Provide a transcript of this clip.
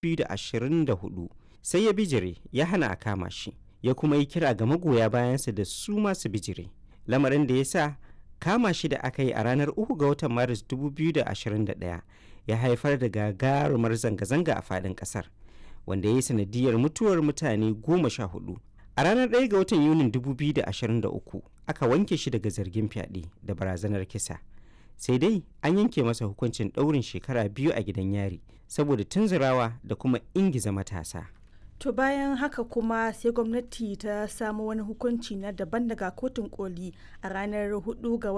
2024, sai ya bijire ya hana a kama shi, ya kuma yi kira ga magoya bayansa da su ma su bijire, lamarin da ya sa kama shi da aka yi a ranar 3 ga watan Maris 2021 ya haifar da gagarumar zanga-zanga a faɗin ƙasar, wanda ya yi sanadiyar mutuwar mutane 14. A ranar 1 ga watan Yunin 2023 aka wanke shi daga zargin fyaɗe da barazanar kisa. Sai dai an yanke masa hukuncin ɗaurin shekara 2 a gidan yari saboda tunzurawa da kuma ingiza matasa. To bayan haka kuma sai gwamnati ta samu wani hukunci na daban daga kotun koli a ranar 4 ga